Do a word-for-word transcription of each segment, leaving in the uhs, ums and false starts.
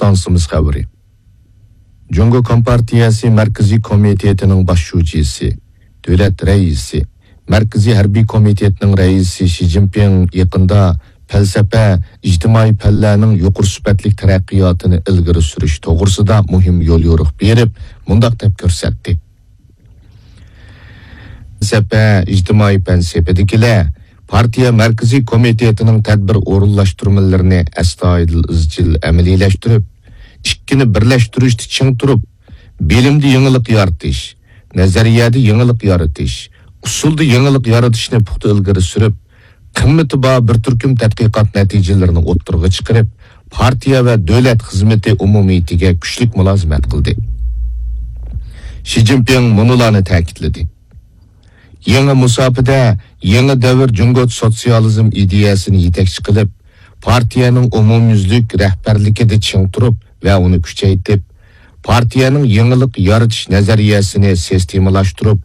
ئىستانسىمىز خەۋىرى. جۇڭگو كومپارتىيەسى مەركىزىي كومىتېتىنىڭ باش شۇجىسى، دۆلەت رەئىسى، مەركىزىي ھەربىي كومىتېتنىڭ رەئىسى شى جىنپىڭ يېقىندا پەلسەپە، ئىجتىمائىي پەنلەرنىڭ يۇقىرى سۈپەتلىك تەرەققىياتىنى ئىلگىرى سۈرۈش توغرىسىدا مۇھىم يوليورۇق بېرىپ، مۇنداق دەپ كۆرسەتتى. پەلسەپە، ئىجتىمائىي پەن سېپىدىكىلەر پارتىيە مەركىزىي كومىتېتىنىڭ تەدبىر ئورۇنلاشتۇرمىلىرىنى ئەستايىدىل، ئىزچىل ئەمەلىيلەشتۈرۈپ، ئىككىنى بىرلەشتۈرۈشتە چىڭ تۇرۇپ، بىلىمدە يېڭىلىق يارىتىش، نەزەرىيەدە يېڭىلىق يارىتىش، ئۇسۇلدا يېڭىلىق يارىتىشنى پۇختا ئىلگىرى سۈرۈپ، قىممىتى بار بىر تۈركۈم تەتقىقات نەتىجىلىرىنى ئوتتۇرىغا چىقىرىپ، پارتىيە ۋە دۆلەت خىزمىتى ئومۇمىيىتىگە كۈچلۈك مۇلازىمەت قىلدى. شى جىنپىڭ مۇنۇلارنى تەكىتلىدى: يېڭى مۇساپىدە يېڭى دەۋر جۇڭگو سوتسىيالىزم ئىدىيەسىنى يېتەكچى قىلىپ، پارتىيەنىڭ ئومۇميۈزلۈك رەھبەرلىكىدە چىڭ تۇرۇپ ۋە ئۇنى كۈچەيتىپ، پارتىيەنىڭ يېڭىلىق يارىتىش نەزەرىيەسىنى سىستېمىلاشتۇرۇپ،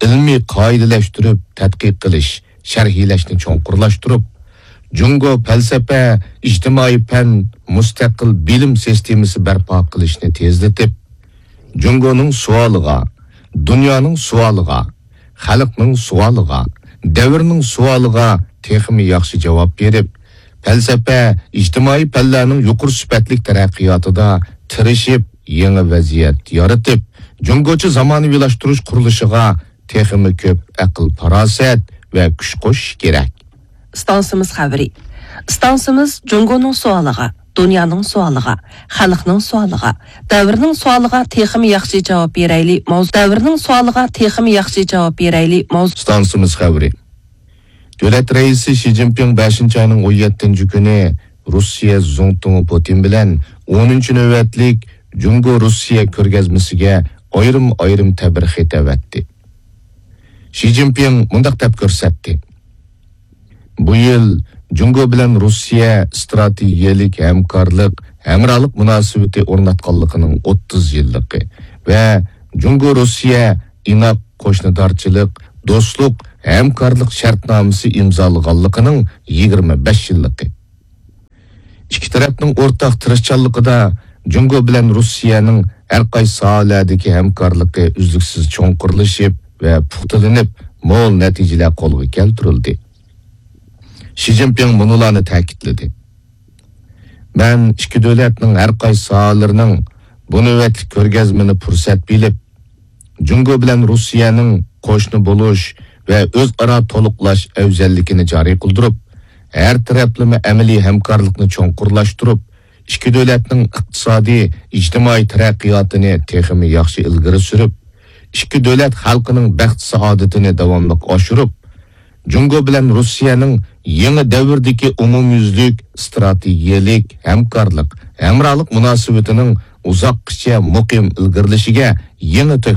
ئىلمىي قائىدىلەشتۈرۈپ تەتقىق قىلىش، شەرھلەشنى چوڭقۇرلاشتۇرۇپ، جۇڭگو پەلسەپە، ئىجتىمائىي پەن، مۇستەقىل بىلىم سىستېمىسى بەرپا قىلىشنى تېزلىتىپ، جۇڭگونىڭ سوئالىغا، دۇنيانىڭ سوئالىغا، خەلقنىڭ سوئالىغا، دەۋرنىڭ سوئالىغا تېخىمۇ ياخشى جاۋاب بېرىپ، پەلسەپە، ئىجتىمائىي پەنلەرنىڭ يۇقىرى سۈپەتلىك تەرەققىياتىدا تىرىشىپ، يېڭى ۋەزىيەت يارىتىپ، جۇڭگوچە زامانىۋىلاشتۇرۇش قۇرۇلۇشىغا تېخىمۇ كۆپ ئەقىل-پاراسەت ۋە كۈچ قوشۇش كېرەك. ئىستانسىمىز خەۋىرى. ئىستانسىمىز جۇڭگونىڭ سوئالىغا، دۇنيانىڭ سوئالىغا، خەلقنىڭ سوئالىغا، دەۋرنىڭ سوئالىغا تېخىمۇ ياخشى جاۋاب بېرەيلى ماۋزۇ-، دەۋرنىڭ سوئالىغا تېخىمۇ ياخشى جاۋاب بېرەيلى ماۋزۇ-، ئىستانسىمىز خەۋىرى. دۆلەت رەئىسى شى جىنپىڭ بەشىنچى ئاينىڭ ئون يەتتىنچى كۈنى روسىيە زۇڭتۇڭى پۇتىن بىلەن ئونىنچى نۆۋەتلىك جۇڭگو روسىيە كۆرگەزمىسىگە ئايرىم-ئايرىم تەبرىك خېتى ئەۋەتتى. شى جىنپىڭ مۇنداق دەپ كۆرسەتتى: بۇ يىل جۇڭگو بىلەن روسىيە ئىستراتېگىيەلىك ھەمكارلىق، ھەمراھلىق مۇناسىۋىتى ئورناتقانلىقىنىڭ ئوتتۇز يىللىقى ۋە جۇڭگو روسىيە ئىناق قوشنىدارچىلىق، دوستلۇق، ھەمكارلىق شەرتنامىسى ئىمزالىغانلىقىنىڭ يىگىرمە بەش يىللىقى. ئىككى تەرەپنىڭ ئورتاق تىرىشچانلىقىدا جۇڭگو بىلەن روسىيەنىڭ ھەر قايسى ساھەلەردىكى ھەمكارلىقى ئۈزلۈكسىز چوڭقۇرلىشىپ ۋە پۇختىلىنىپ، مول نەتىجىلەر قولغا كەلتۈرۈلدى. شى جىنپىڭ مۇنۇلارنى تەكىتلىدى: مەن ئىككى دۆلەتنىڭ ھەر قايسى ساھەلىرىنىڭ بۇ نۆۋەتلىك كۆرگەزمىنى پۇرسەت بىلىپ، جۇڭگو بىلەن روسىيەنىڭ قوشنا بولۇش ۋە ئۆزئارا تولۇقلاش ئەۋزەللىكىنى جارى قىلدۇرۇپ، ھەر تەرەپلىمە ئەمەلىي ھەمكارلىقنى چوڭقۇرلاشتۇرۇپ، ئىككى دۆلەتنىڭ ئىقتىسادىي، ئىجتىمائىي تەرەققىياتىنى تېخىمۇ ياخشى ئىلگىرى سۈرۈپ، ئىككى دۆلەت خەلقىنىڭ بەخت-سائادىتىنى داۋاملىق ئاشۇرۇپ، جۇڭگو بىلەن روسىيەنىڭ يېڭى دەۋردىكى ئومۇميۈزلۈك ئىستراتېگىيەلىك ھەمكارلىق، ھەمراھلىق مۇناسىۋىتىنىڭ ئۇزاققىچە مۇقىم ئىلگىرىلىشىگە يېڭى تۆھپە